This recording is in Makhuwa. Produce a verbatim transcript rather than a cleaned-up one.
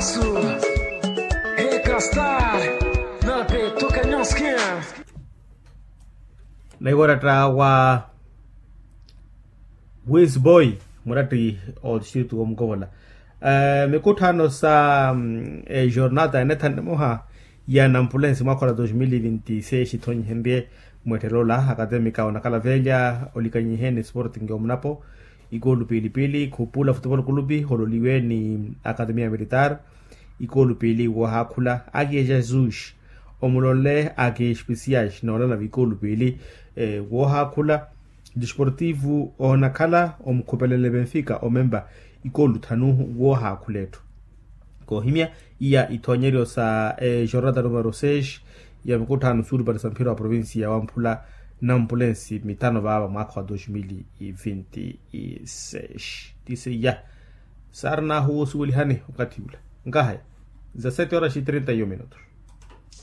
Su, eka star, nape toka nyonskin. Naiwaratta wa wisboy, muratti o distritu wa mukovola. Mikutthano sa ejornata ya nettha nimoha ya nampulensi mwakha wa dos mil vinti seis ithonyihenrye mwetterola akatemika onakhala velya olikanyihe ni sporting omunapo. Ikoolu piili piili khupula futupolo kulupi hololiwe ni akatemia militar. Ikoolu piili woohaakhula aki jesus omulonle aki especias noolala vikoolu piili woohaakhula. Disportivu oonakhala omukhupelenle benfica omempa ikoolu thanu woohaakhula etthu. Koohimya iya ithoonyeryo sa ejornata numero seis ya mikutthano suulupale sa mphira wa provincia ya wamphula nampulensi mithano vaava mwaakha wa dos mil vinti seis. Tisiya saari naahuwa osuwelihani okathi ula nkahaya za sete horas e trinta e um minutos.